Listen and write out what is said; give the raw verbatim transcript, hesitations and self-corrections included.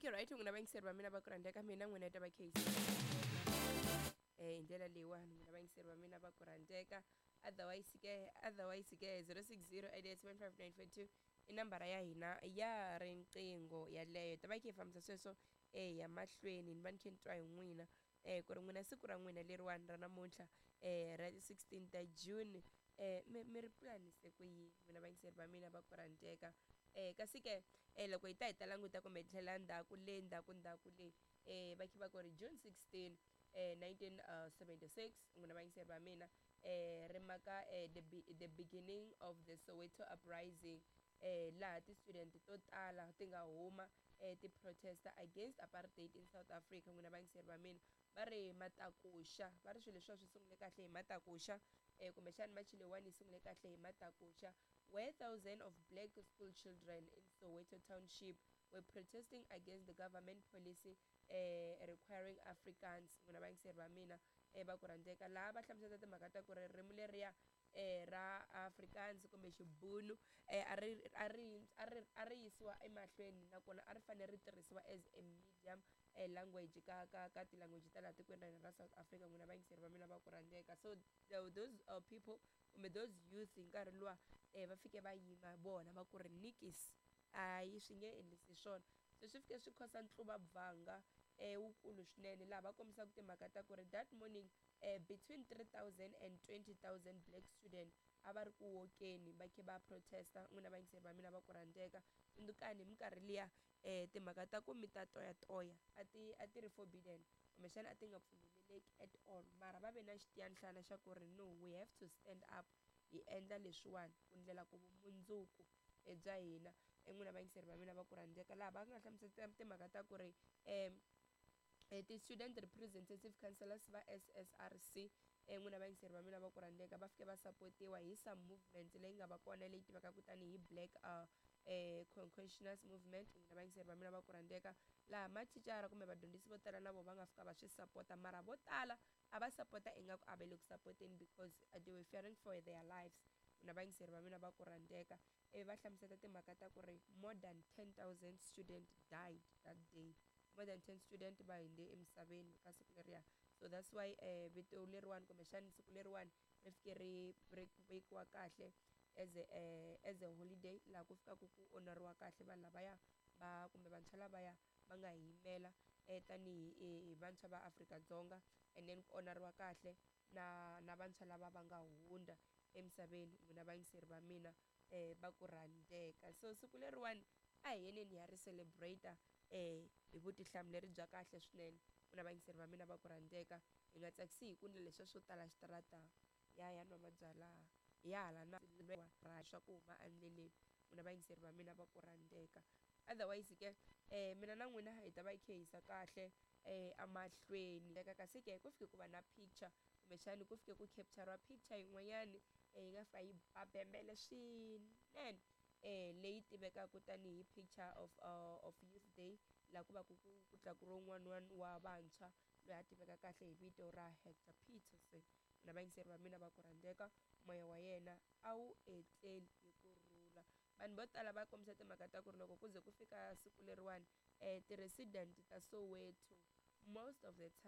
Okay, right, n'wina vayingiseri va mina va ku rhandzeka, mina n'wina ta va case eh hi ndlela leyiwani, n'wina vayingiseri va mina va ku rhandzeka. Otherwise ke, otherwise ke zero six zero eight eight seven five nine four two i nambara ya hina ya riqingho yaleyo. Ta va yi kha yi fambisa sweswo eh ya mahlweni. Ni va ni kha ni twa hi n'wina eh ku ri n'wina siku ra n'wina leriwani ra namuntlha eh ra sixteen ta June eh mi mi ri pulanise ku yini, n'wina vayingiseri va mina va ku rhandzeka? eh kasi ke eh loko hi ta hi ta languta kumbe hi tlhela ndzhaku le ndzhaku ndzhaku le eh va kha va ku ri June sixteen eh nineteen seventy-six, n'wina vayingiseri va mina, eh ri maka eh the, be the beginning of the Soweto uprising, eh laha ti-student to tala ti nga huma eh ti-protesta against apartheid in South Africa. N'wina vayingiseri va mina, va ri matakuxa, va ri swilo leswiwa swi sungule kahle hi matakuxa, eh kumbexani March leyiwani yi sungule kahle hi matakuxa, where thousands of black school children in Soweto township were protesting against the government policy eh requiring Afrikaans. N'wina vayingiseri va mina eh va ku rhandzeka, laha va hlamusela timhaka ta ku ri ririmi leriya eh ra Afrikaans kumbe Xibunu eh a ri a ri a ri a ri yisiwa emahlweni, nakona a ri fanele ri tirhisiwa as a medium eh language ka ka ka ti-language ta laha tikweni ra hina ra South Africa, n'wina vayingiseri va mina va ku rhandzeka. So those uh, people kumbe those youth hi nkarhi luwa eh va fike va yima vona va ku ri nikis, hayi, swi nge endlisi swona. Se swi fike swi khosa ntluvabvanga eh wukulu swinene, laha va kombisaka timhaka ta ku ri that morning eh between three thousand and twenty thousand black student a va ri ku wokeni va khe va protesta. N'wina vayingiseri va mina va ku rhandzeka, tsundzukani hi minkarhi liya eh timhaka ta ku mi ta toyatoya a ti a ti ri forbidden, kumbexana a ti nga pfumeleleki at all, mara va ve na xitiyanhlana xa ku ri no, we have to stand up, hi endla leswiwani ku ndlela ku vumundzuku bya hina. N'wina vayingiseri va mina va ku rhandzeka, laha va nga hlamusela timhaka ta ku ri um ti-student representative councillors va S S R C, n'wina vayingiseri va mina va ku rhandzeka, va fike va sapotiwa hi some movement leyi nga va kona leyi tivekaka tanihi Black uh, eh, Consciousness Movement. N'wina vayingiseri va mina va ku rhandzeka, laha mathicara kumbe vadyondzisi vo tala na vona va nga fika va swi sapota, mara vo tala a va sapota ingaku a va le ku sapoteni because they were fearing for their lives. N'wina vayingiseri va mina va ku rhandzeka, ivi va hlamusela timhaka ta ku ri more than ten thousand student died that day, more than ten student va hundze emisaveni ka siku leriya. So that's why eh, vito leriwani kumbexani siku leriwani ri fike ri ri vekiwa kahle as a, eh, as a holiday, laha ku fikaka ku onariwa kahle vanhu lavaya va kumbe vantshwa lavaya va nga yimela eh, tanihi hi vantshwa va Afrika-Dzonga, and then ku onariwa kahle na na vantshwa lava va nga hundza emisaveni, n'wina vayingiseri va mina eh, va ku rhandzeka. So siku leriwani a hi yeneni hi ya ri celebrate eh hi vutihlamuleri bya kahle swinene, n'wina vayingiseri va mina va ku rhandzeka. Hi nga tsakisi hi ku ndla leswiya swo tala xitarata ya ya nwa mabyalwa hi ya hala na swa ku huma endleleni, n'wina vayingiseri va mina va ku rhandzeka. Otherwise ke eh mina na n'wina hi ta va hi kha hi yisa kahle eh amahlweni. Kasi ke ku fike ku va na picture, kumbexani ku fike ku capture picture yin'wanyani yi nga fika yi ba bembele swinene, eh leyi tivekaka tanihi picture of uh, of Youth Day, laha ku va ku ku tlakuriwe un'wana wa vantshwa loyi a tiveka kahle hi vito ra Hector Peterson. Na vayingiseri va mina va ku rhandzeka, moya wa yena a wu etleli hi kurhula. Vanhu vo tala va kombisa timhaka ta ku ri loko ku ze ku fika siku leriwani um ti-resident ta Soweto most of the time